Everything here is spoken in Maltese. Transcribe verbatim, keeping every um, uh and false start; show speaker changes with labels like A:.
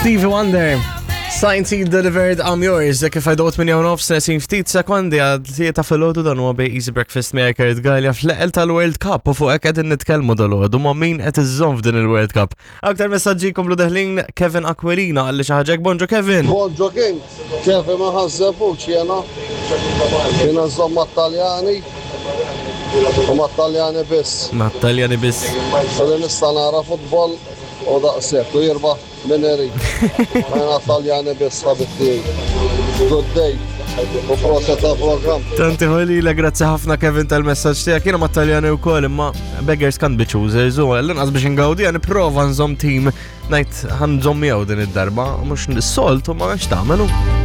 A: Stevie Wonder. Signed Sealed Delivered, I'm Yours. Kif għajdot minn jawn nofs nesin ftit sekondi għad tlieta filgħodu, dan huwa bej Easy Breakfast miegħek Kurt Galea fl-eqel tal-World Cup u fuq hekk qegħdin nitkellmu dalgħodu ma' min qed iżżomm f'din il-World Cup. Aktar messaġġi komplu deħlin. Kevin Aquilina għalli xi ħaġa. Bonġu, Kevin.
B: Bonġu King, Kevin ma ħażżebuċ jena. Jena nżomm mat-Taljani u mat-Taljani biss.
A: Ma' Taljani biss.
B: Għalli nista' nara futbol u daqshekk u jirbaħ min irid. Jena Taljani biss, ħabib tiegħi. Good day. U proset ta' program.
A: Tanti ħolila, grazzi ħafna, Kevin, tal-messaġġ tiegħek. Jiena mat-Taljani wkoll, imma beggars can't be choosers u l-inqas biex ingawdi għan prova nżomm team, ngħid ħa nżomm miegħu din id-darba, mhux s-soltu ma għax tagħmelu.